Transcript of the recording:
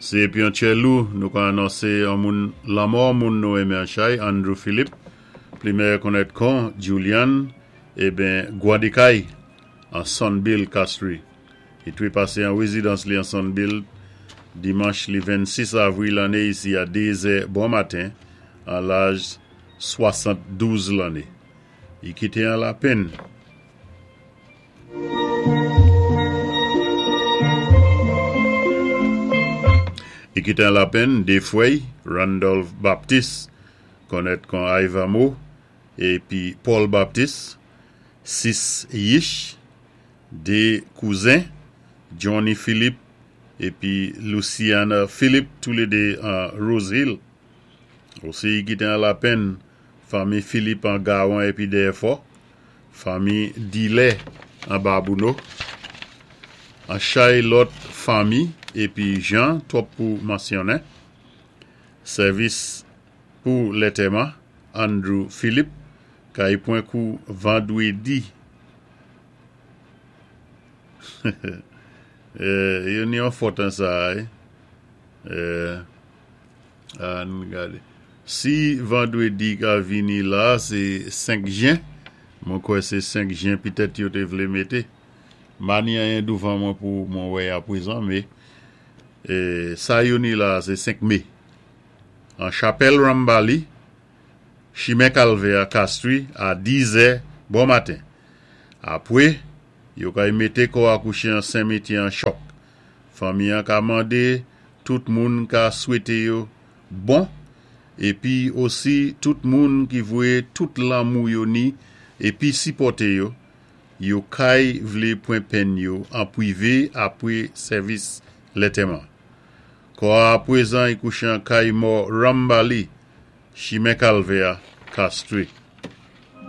Sé épi an tjè lou, nou ka anonsé an moun lanmò an moun nou enmen an chay, Andrew Philippe, pli mèyè konnèt kon Julian, eben Gwadekay, an Sunbill, Castries. I twé pasé an wézidans li an Sunbill, dimanch li 26 avril lanné isi a 2 zè bon maten, an laj 72 lanné. I kité an lapenn. I kité an lapenn 2 fwè'y, Randolph Baptiste, konnèt kon Ivamo, épi Paul Baptiste, 6 yich, 2 kouzen, Johnny Philippe épi Luciana Philippe, toulédé an Rose Hill. Osi i kité an lapenn fanmi Philippe an Gawan épi Dèyèfò, Fanmi Dilè an Babouno, an chay lòt fanmi épi jan twòp pou mansyonnen. Sèvis pou lètèman Andrew Philippe kay pwen kou vandwédi. Yo ni yon fòt an sa a wi. Ann gade. Si vandredi ka vini la se 5 jen. Mwen kwè se 5 jen petèt yo te vle mete. M pa ni anyen douvan mwen pou mwen wè apwezan me sa yo ni la se 5 me. An chapèl Rambali, chimen Kalvè a, Kastri, a 10 zè bon maten. Apwe, yo kay mete kò a kouche an senmetyè an chòk. Fanmi an ka mande tout moun ka swete yo bon epi osi tout moun ki voye tout lanmou yo ni epi sipòte yo, yo kay vle pwen penn yo an pwive apwe sèvis lètèman. Kò a apwezan y kouche an kay mò Rambali, chimen Kalvè a, Castries.